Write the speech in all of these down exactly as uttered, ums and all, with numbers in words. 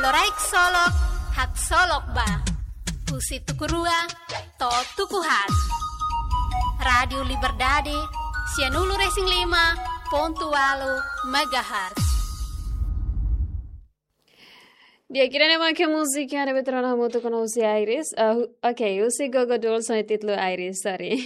Loraik Solok, Haksolok Ba. Husi tuku rua to'o tuku haat. Rádiu Liberdade, sianulu-resin-lima pontu ualu megahertz. Di'ak, ida-ne'e mak múzika ne'ebé tuur ona hamutuk ho Iris. Ah, hu-, oke, husi Gogo Dolls ho títulu Iris, sorry.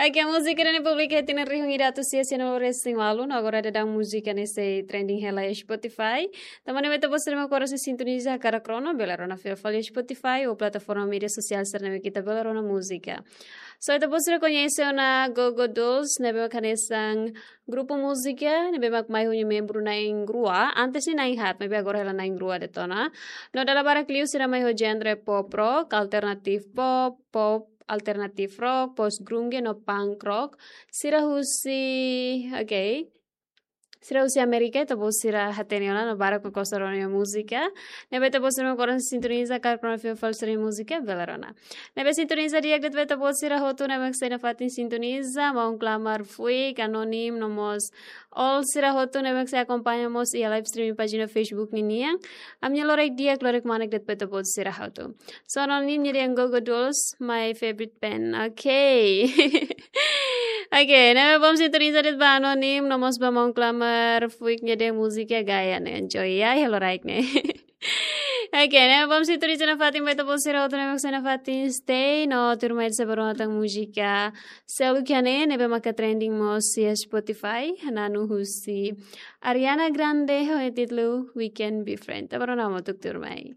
Oke, múzika ne'e publika iha tinan rihun ida atus sia sianulu-resin-ualu, no agora daudaun múzika ne'e sei trending hela iha Spotify. Tanba ne'e ita-boot sira mak oras ne'e sintoniza hakarak rona, bele rona fila fali iha Spotify ou plataforma média sosiál sira ne'ebé ita bele rona múzika. So, ita-boot sira koñese ona Gogo Dolls, ne'ebé mak hanesan grupu múzika ne'ebé mak mai ho nia membru na'in-rua, antes ne'e na'in-haat, maibé agora hela na'in-rua de'it ona. No dala barak liu sira mai ho genre pop rock, alternative pop, pop alternative rock, post grunge no punk rock. Sira husi, oke. Sira husi Amérika, ita-boot sira hatene ona no barak mak gosta rona nia múzika. Ne'ebé ita-boot sira mak oras ne'e sintoniza hakarak rona fila fali sira-nia múzika, bele rona. Ne'ebé sintoniza di'ak de'it ba ita-boot sira hotu ne'ebé mak sei nafatin sintoniza, maun Klamar Fuik, Anonim, no mós all sira hotu ne'ebé mak sei akompaña mós iha live streaming pájina Facebook ninian. Ami-nia loraik di'ak, loraik manek de'it ba ita-boot sira hotu. So, Anonim, nia dehan Gogo Dolls, my favorite band. Oke. Oke, ne'ebé bom sintoniza de'it ba Anonim, no mós ba maun Klamar Fuik nia dehan múzika gaya ne'e, enjoy ya, iha loraik ne'e. Oke, ne'ebé bom sintoniza nafatin ba ita-boot sira hotu ne'ebé mak sei nafatin stay, no tuirmai ita sei bá rona tan múzika seluk iha ne'e, ne'ebé maka trending mós iha Spotify, na'an husi Ariana Grande ho títulu We Can Be Friends. Ita bá rona hamutuk tuirmai.